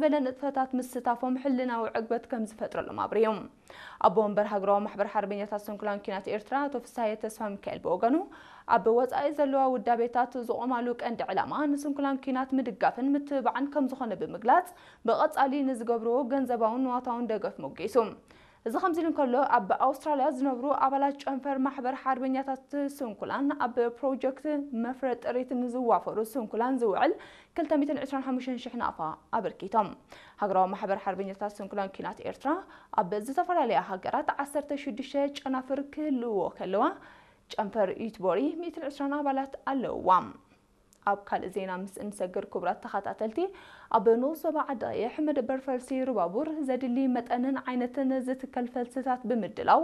ዝበለ ንጥፈታት ምስታፎም ሕልናዊ ዕግበት ከም ዝፈጥረሎም ኣብርዮም። ኣቦ ወንበር ሃገራዊ ማሕበር ሓርበኛታት ስንኩላን ኲናት ኤርትራ ኣቶ ፍስሃየ ተስፋ ሚካኤል ብወገኑ፣ ኣብ ወጻኢ ዘለዋ ውዳቤታት ዝቖማሉ ቀንዲ ዕላማ ንስንኩላን ኲናት ምድጋፍን ምትብባዕን ከም ዝኾነ ብምግላጽ፣ ብቐጻሊ ንዝገብርዎ ገንዘባውን ንዋታውን ደገፍ ሞጊሱ። እዚ ከምዚ ኢሉ እንከሎ፣ ኣብ ኣውስትራልያ ዝነብሩ ኣባላት ጨንፈር ማሕበር ሓርበኛታት ስንኩላን ኣብ ፕሮጀክት መፍረ ጥሪት ንዝዋፈሩ ስንኩላን ዝውዕል ክልተ ሚእትን ዕስራን ሓሙሽተን ሽሕ ናቕፋ ኣበርኪቶም። ሃገራዊ ማሕበር ሓርበኛታት ስንኩላን ኲናት ኤርትራ ኣብ ዝተፈላለያ ሃገራት ዓሰርተ ሽዱሽተ ጨናፍር ክህልዎ ከለዋ፣ ጨንፈር ዩትቦሪ ሚእትን ዕስራን ኣባላት ኣለውዋ። ኣብ ካልእ ዜና ምስ እንሰግር፣ ክቡራት ተኸታተልቲ፣ ኣብ ንኡስ ዞባ ዓዲ ቀይሕ መደበር ፈልሲ ሩባቡር ዘድሊ መጠንን ዓይነትን ዝትከል ፈልስታት ብምድላው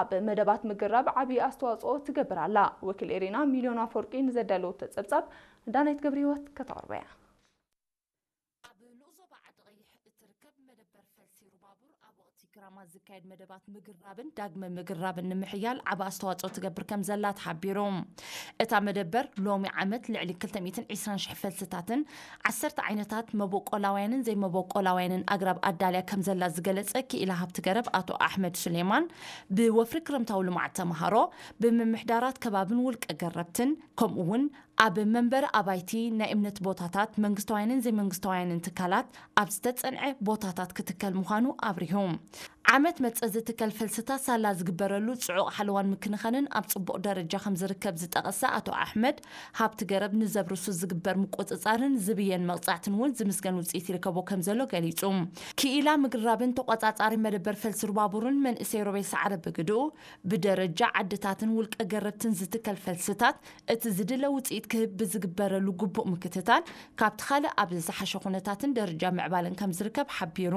ኣብ መደባት ምግራብ ዓብዪ ኣስተዋፅኦ ትገብር ኣላ። ወኪል ኤሪና ሚልዮን ኣፈወርቂ ንዘዳለወቶ ጸብጻብ ዳናይት ገብረ ህይወት ከተቕርቦ እያ። ኣብ ንኡስ ዞባ ዓዲ ቀይሕ እትርከብ መደበር ፈልሲ ሩባቡር ኣብ ወቕቲ ክራማት ዝካየድ መደባት ምግራብን ዳግመ ምግራብን ንምሕያል ዓቢ ኣስተዋጽኦ ትገብር ከም ዘላ ተሓቢሩ። እታ መደበር ሎሚ ዓመት ልዕሊ ክልተ ሚእትን ዕስራን ሽሕ ፈልስታትን ዓሰርተ ዓይነታት መበቆላውያንን ዘይመበቆላውያንን ኣግራብ ኣዳልያ ከም ዘላ ዝገለጸ ክኢላ ሃብቲ ገረብ ኣቶ ኣሕመድ ሱሌማን፣ ብወፍሪ ክረምታዊ ልምዓት ተምሃሮ፣ ብምምሕዳራት ከባብን ውልቀ ገረብትን፣ ከምኡ እውን ኣብ መንበሪ ኣባይቲ፣ ናይ እምነት ቦታታት፣ መንግስታውያንን ዘይመንግስታውያንን ትካላት ኣብ ዝተጸንዐ ቦታታት ክትከል ምዃኑ ኣብሪሁ። ዓመት መጸ ዝትከል ፈልስታት ሳላ ዝግበረሉ ጽዑቕ ሓለዋን ምክንኻንን ኣብ ጽቡቕ ደረጃ ከም ዝርከብ ዝጠቐሰ ኣቶ ኣሕመድ፣ ሃብቲ ገረብ ንዘብ ርሱስ ዝግበር ምቁጽጻርን ዝብየን መቕጻዕትን እውን ዝምስገን ውጽኢት ይርከቦ ከም ዘሎ ገሊጹ። ክኢላ ምግራብን ተቖጻጻሪ መደበር ፈልሲ ሩባቡርን መንእሰይ ሮቤል ሰዓረ ብግድኡ፣ ብደረጃ ዓድታትን ውልቀ ገረብትን ዝትከል ፈልስታት እቲ ዝድለ ውጽኢት ክህብ ብዝግበረሉ ግቡእ ምክትታል፣ ካብቲ ካልእ ኣብ ዝሓሸ ኩነታትን ደረጃ ምዕባለን ከም ዝርከብ ሓቢሩ።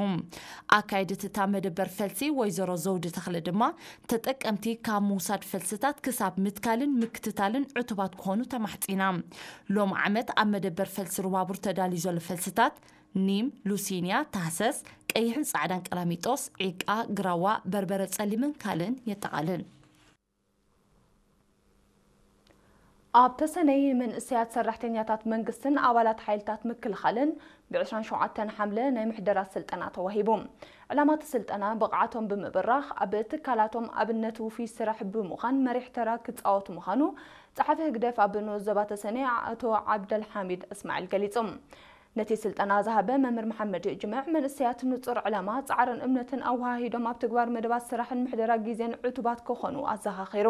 ኣካየዲት እታ መደበር ፈልሲ ወይዘሮ ዘውዲ ተኽለ ድማ፣ ተጠቀምቲ ካብ ምውሳድ ፈልስታት ክሳብ ምትካልን ምክትታልን ዕቱባት ክኾኑ ተማሕጺና። ሎም ዓመት ኣብ መደበር ፈልሲ ሩባቡር ተዳልዩ ዘሎ ፈልስታት ኒም፣ ሉሲንያ፣ ታህሰስ፣ ቀይሕን ጻዕዳን ቀላሚጦስ፣ ዒቃ፣ ግራዋ፣ በርበረ ጸሊምን ካልእን የጠቓልል። ኣብ ተሰነይ መንእሰያት ሰራሕተኛታት መንግስትን ኣባላት ሓይልታት ምክልኻልን ብ ዕስራን ሸውዓተን ሓምለ ናይ ምሕደራ ስልጠና ተዋሂቡ። ዕላማ እቲ ስልጠና ብቕዓቶም ብምብራኽ ኣብ ትካላቶም ኣብነት ውፉይ ስራሕ ብምዃን መሪሕ ተራ ክጻወቱ ምዃኑ ጸሓፊ ህግደፍ ኣብ ንኡስ ዞባ ተሰነይ ኣቶ ዓብደልሓሚድ እስማዒል ገሊጹ። ነቲ ስልጠና ዝሃበ መምህር መሓመድ ጅምዕ፣ መንእሰያት ንጹር ዕላማ፣ ጻዕርን እምነትን ኣወሃሂዶም ኣብ ተግባር መደባት ስራሕን ምሕደራ ግዜን ዕቱባት ክኾኑ ኣዘኻኺሩ።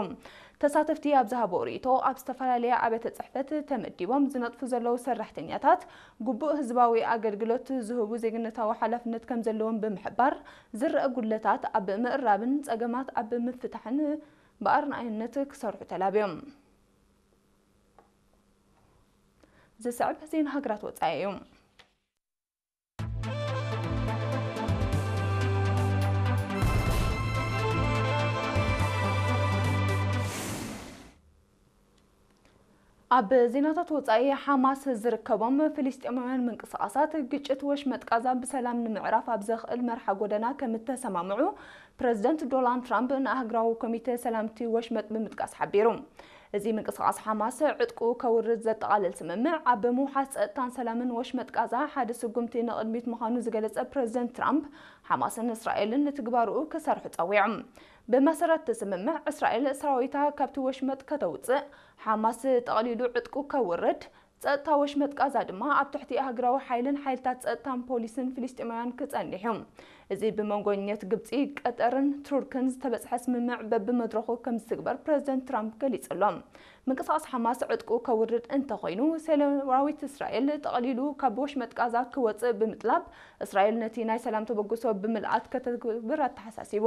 ተሳተፍቲ ኣብ ዝሃቦ ርእይቶ፣ ኣብ ዝተፈላለያ ኣብያተ ጽሕፈት ተመዲቦም ዝነጥፉ ዘለዉ ሰራሕተኛታት፣ ግቡእ ህዝባዊ ኣገልግሎት ዝህቡ ዜግነታዊ ሓላፍነት ከም ዘለዎም ብምሕባር፣ ዝረኣ ጉድለታት ኣብ ምእራምን ጸገማት ኣብ ምፍታሕን ብኣርኣያነት ክሰርሑ ተላብዮም። ዝስዕብ ዜና ሃገራት ወጻኢ እዩ። ኣብ ዜናታት ወጻኢ፣ ሓማስ ዝርከቦም ፍልስጤማውያን ምንቅስቓሳት፣ ግጭት ወሽመጥ ቃዛ ብሰላም ንምዕራፍ ኣብ ዘኽእል መርሓ ጎደና ከም እተሰማምዑ ፕረዚደንት ዶናልድ ትራምፕ ንኣህጉራዊ ኮሚተ ሰላምቲ ወሽመጥ ብምጥቃስ ሓቢሩ። እዚ ምንቅስቓስ ሓማስ ዕጥቁ ከውርድ ዘጠቓልል ስምምዕ፣ ኣብ ምውሓስ ጸጥታን ሰላምን ወሽመጥ ቃዛ ሓደ ስጉምቲ ንቕድሚት ምዃኑ ዝገለጸ ፕረዚደንት ትራምፕ፣ ሓማስን እስራኤልን ንትግባርኡ ክሰርሑ ጸዊዖም። ብመሰረት እቲ ስምምዕ፣ እስራኤል ሰራዊታ ካብቲ ወሽመጥ ከተውጽእ፣ ሓማስ ጠቕሊሉ ዕጥቁ ከውርድ፣ ጸጥታ ወሽመጥ ቃዛ ድማ ኣብ ትሕቲ ኣህጉራዊ ሓይልን ሓይልታት ጸጥታን ፖሊስን ፍልስጤማውያን ክጸንሕ እዩ። እዚ ብመንጎኛት ግብጺ፣ ቀጠርን ቱርክን ዝተበጽሐ ስምምዕ በብመድረኹ ከም ዝትግበር ፕረዚደንት ትራምፕ ገሊጹ ኣሎ። ምንቅስቓስ ሓማስ ዕጥቁ ከውርድ እንተኾይኑ፣ ሰራዊት እስራኤል ጠቕሊሉ ካብ ወሽመጥ ቃዛ ክወጽእ ብምጥላብ፣ እስራኤል ነቲ ናይ ሰላም ተበግሶ ብምልኣት ከተትግብር ኣተሓሳሲቡ።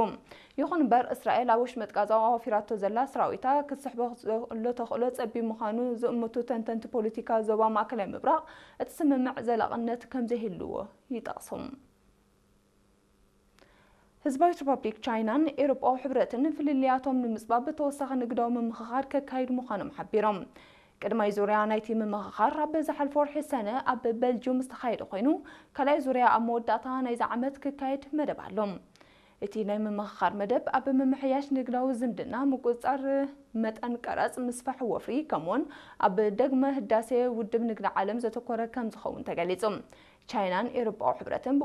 ይኹን እምበር፣ እስራኤል ኣብ ወሽመጥ ቃዛ ኣዋፊራቶ ዘላ ሰራዊታ ክትስሕቦ ዘሎ ተኽእሎ ጸቢብ ምዃኑ ዝእምቱ ተንተንቲ ፖለቲካ ዞባ ማእከላይ ምብራቕ፣ እቲ ስምምዕ ዘላቕነት ከም ዘይህልዎ ይጠቕሱ። ህዝባዊት ሪፓብሊክ ቻይናን ኤውሮጳዊ ሕብረትን ፍልልያቶም ንምጽባብ ተወሳኺ ንግዳዊ ምምኽኻር ከካይዱ ምዃኖም ሓቢሮም። ቀዳማይ ዙርያ ናይቲ ምምኽኻር ኣብ ዝሓለፈ ወርሒ ሰነ ኣብ በልጅዩም ዝተኻየደ ኮይኑ፣ ካልኣይ ዙርያ ኣብ መወዳእታ ናይዚ ዓመት ክካየድ መደብ ኣሎ። እቲ ናይ ምምኽኻር መደብ ኣብ ምምሕያሽ ንግዳዊ ዝምድና፣ ምቁጽጻር መጠን ቀረጽ፣ ምስፋሕ ወፍሪ፣ ከምኡውን ኣብ ዳግመ ህዳሴ ውድብ ንግዲ ዓለም ዘተኮረ ከም ዝኸውን ተገሊጹ። ቻይናን ኤውሮጳዊ ሕብረትን